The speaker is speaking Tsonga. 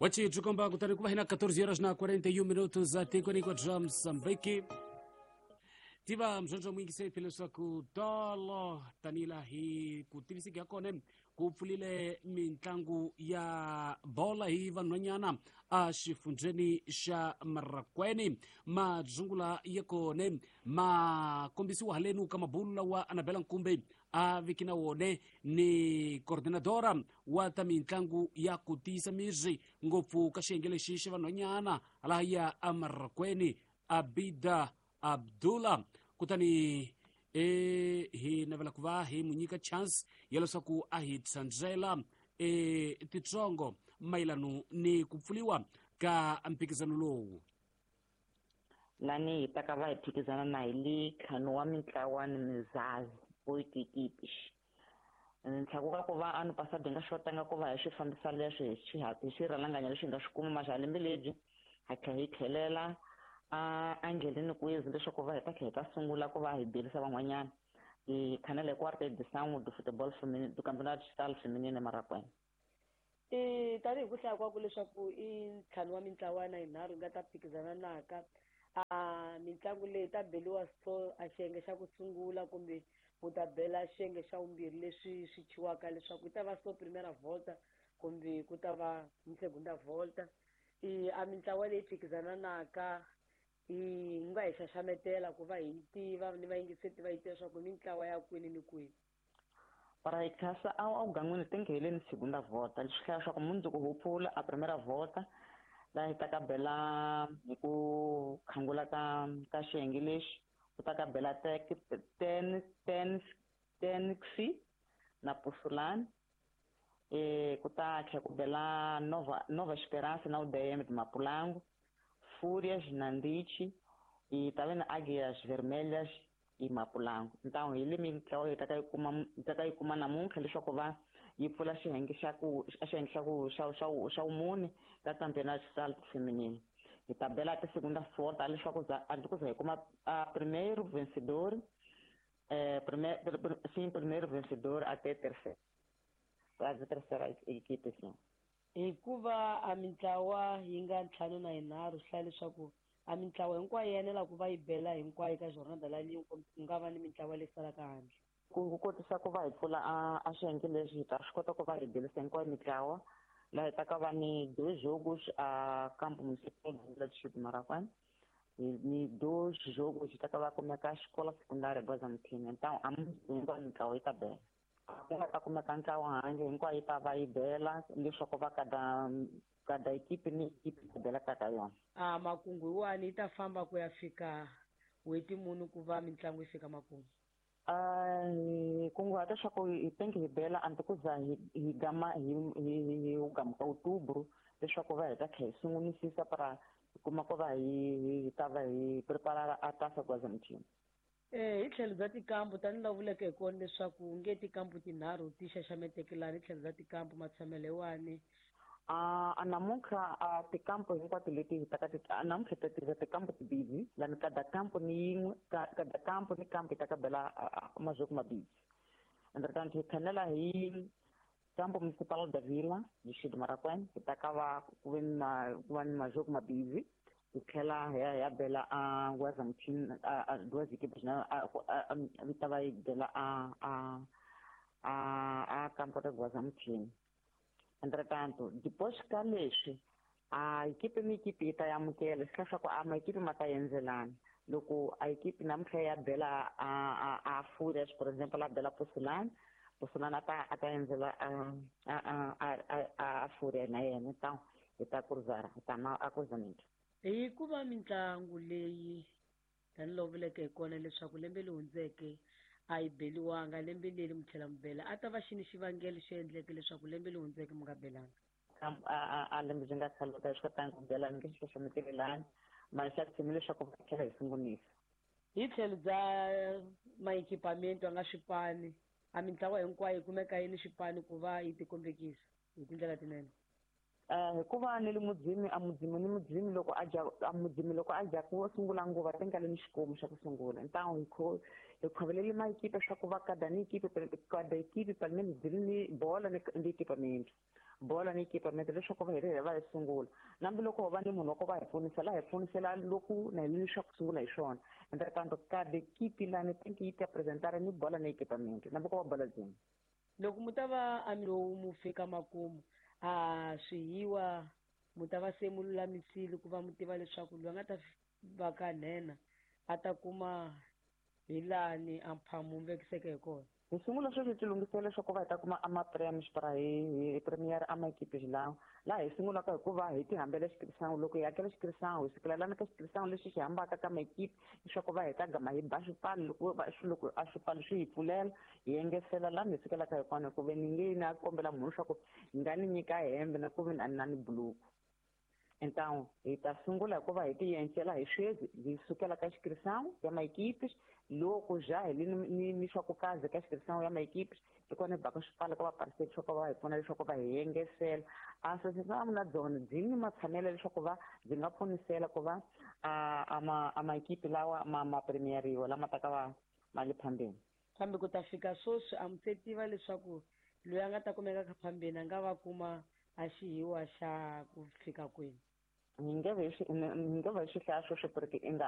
Wachi tukomba kutani kuva hina 14 horas na 41 minutos atikweni bya Mozambique. Tiva mzonzo mwingi se leswaku tolo tanila hi ku tivisiki ya kona ku pfulile mitlangu ya bola hi vanhwanyana a xifundzheni xa Marraquene. Madzungula ya kona ma kombisiwa halenu ka mabulu lawa Anabela Nkumbe a viki na wone ni coordinadora wa ta mitlangu ya ku tiyisa miri ngopfu ka xiyenge lexi xa vanhwanyana laha ya aMarraquene, Abida Abdullah. Kutani hi navela ku va hi mu nyika chance ya leswaku a hi tsandzela titsongo mayelano ni ku pfuliwa ka mphikizano lowu. Lani hi ta ka va hi phikizana na hi le ntlhanu wa mintlawa ni mizazi oito equipes. Ntlhaku ka ku va ano passado hi nga xotanga ku va hi swi fambisa leswi hi swirhalanganya leswi hi nga swi kuma maxa lembe lebyi ha tlhela hi tlhelela a endleleni kwizi leswaku va hi ta tlhela hi ta sungula ku va hi berisa van'wanyana hi khanele quarta edição do futebol feminino do campeonato estadual feminino eMarraquene. I tanihi ku hlaya kwaku leswaku i ntlhanu wa mintlawa na yinharhu yi nga ta phikizana naka a mitlangu leyi ta beliwa so a xiyenge xa ku sungula kumbe u ta bela xiyenge xa vumbirhi leswi swi chiwaka leswaku yi ta va so primera volta kumbe ku ta va segunda volta. I a mintlawa leyi phikizananaka hi nga hi xaxametela ku va hi tiva ni vayingiseti va yi tiva leswaku i mintlawa ya kwini ni kwini. Para hi khasa a wu gan'wini tingheleni segunda volta leswi hlaya leswaku mundzuku ho pfula a primera volta laha hi ta ka bela hi ku khangula ka xiyenge lexi ku ta ka bela ten ten tenxi na Pusulani, ku ta tlhela ku bela Nova Esperança na UDM de Mapulango, Fúrias na Ndichi e ta ve na Águias Vermelhas e Mapulango. Então hi le mintlawa hi ta ka yi kuma hi ta ka yi kuma namuntlha leswaku va yi pfula xiyenge xa ku xiyenge xa ku xa xa xa vumune ka campeonato estadual feminino. Hi ta bela ti segunda volta leswaku za a ku za hi kuma a primeiro vencedor, primeiro, sim, primeiro vencedor até terceiro, a terceira equipe, sim. Hikuva a mintlawa yi nga ntlhanu na yinharhu swi hlaya leswaku a mintlawa hinkwayo yi enela ku va yi bela hinkwayo ka jornada laliyo ku nga va ni mintlawa leyi salaka handle? Ku kotisa ku va hi pfula a xiyenge lexi hi ta swi kota ku va hi belisa hinkwayo mitlawa laha hi ta ka va ni dois jogos a campo municipal de Distrito de Marraquene ni dois jogos hi ta ka va kumeka xikola secundária Guazamtini. Então a hinkwayo mitlawa yi ta bela, ku nga ta kumeka ntlawa handle, hinkwayo yi ta va yi bela leswaku va kada equipe ni equipe yi bela ka yona. A makungu yiwani yi ta famba ku ya fika n'hweti muni ku va mitlangu yi fika makumu? Hi kunguhata leswaku hi tenge hi bela anti ku za hi gama hi gamuka outubro leswaku va hi ta tlhela hi sungunisisa para hi kuma ku va hi ta va hi preparara a Taça Guazamtini. Hi tlhelo bya tikambu tanihi laha vuleke hi kona leswaku nge tikambu tinharhu ti xaxameteke lani hi tlhelo bya tikambu matshamelo yiwani? A namuntlha a tikampo hinkwato leti hi taka namuntlha ta tirhisa tikampo timbirhi lani kada kampo ni yin'we kada kampo ni kampo hi ta ka bela mazoko mabirhi. Entretanto hi khanela hi campo municipal da Vila Distrito de Marraquene hi ta ka va ku ve ni ku va ni mazoko mabirhi hi tlhela hi ya hi ya bela a Guazamtini a duas equipes na a ta va yi bela a campo de Guazamtini. Entretanto depois ka leswi a equipe ni equipe yi ta amukela swi leswaku a maequipe ma ta endzelana loko a equipe namuntlha ya bela a Fúrias, por exemplo, a bela Pusulani, Pusulani a ta endzela a Fúria na yena. Então hi ta cruzar hi ta na a cruzamento. Hi ku va mitlangu leyi tanihi vuleke hi kona leswaku lembe leri hundzeke a yi beliwanga, lembe leri mi tlhela mi bela, a ta va xini xivangelo xo endleke leswaku lembe leri hundzeke mi nga belanga? A lembe byi nga tshaluka hi swi kotanga ku bela ni nge xaxametelelani mara xa tshembi leswaku va tlhela hi sungunisa. Hi tlhelo bya maekipamento a nga swipani a mintlawa hinkwayo yi kumeka yi ni swipani ku va yi tikombekisa hi tindlela tinene? Hikuva ni le mudzimi a mudzimi ni mudzimi loko a dya a mudzimi loko a dya ku sungula nguva tingale ni xikomu xa ku sungula. Então hi khovelele maequipe swa ku va kada ni equipe kada equipe pelo menos byi ni bola ni equipamento. Bola ni equipment leswaku va hi ri va hi sungula. Nambi loko ho va ni munhu wa ku va hi pfunisela, hi pfunisela loku na hi leswaku sungula hi swona. Entretanto, cada equipe lani tem que yi te apresentar ni bola ni equipamento, nambi ko va bola byin'we. Loko mu ta va a mi lowu mu fika makumu a swihiwa, mu ta va se mu lulamisile ku va mu tiva leswaku loyi a nga ta va ka nhenha a ta kuma hi lani a mphamu mu vekiseke hi kona? Hi sungula sweswi ti lunghisela leswaku va hi ta kuma ama-prem xipara hi premier ama-equipe lawa laha hi sungulaka hi ku va hi ti hambela xikirisango. Loko hi hakela xikirisango, hi sukela lani ka xikirisango lexi xi hambaka ka ma-equipe leswaku va hi ta gama hi ba swipalo. Loko a swipalo swi hi pfulela, hi engesela lani hi sukelaka hi kona, hikuva ni nge na kombela munhu leswaku hi nga ni nyika hembe na ku ve a ni na ni buluku. Então hi ta sungula hi ku va hi ti encela hi sweswi, hi sukela ka xikirisango ya ma-equipes. Loko ja hi le ni swa ku kaze ka xikirisango ya ma-equipes, hi kona hi baka swipalo ka vaparticipate leswaku va hi pfuna leswaku va hi engesela. Association na byona byi ni matshamelo leswaku va byi nga pfunisela ku va a ma-equipe lawa ma premieriwa lama taka va ma le phambeni. Kambe ku ta fika sweswi a mu se tiva leswaku loyi a nga ta kumeka ka phambeni a nga va kuma a xihiwa xa ku fika kwini? Hi nge ve hi swi hlaya sweswo, porque inga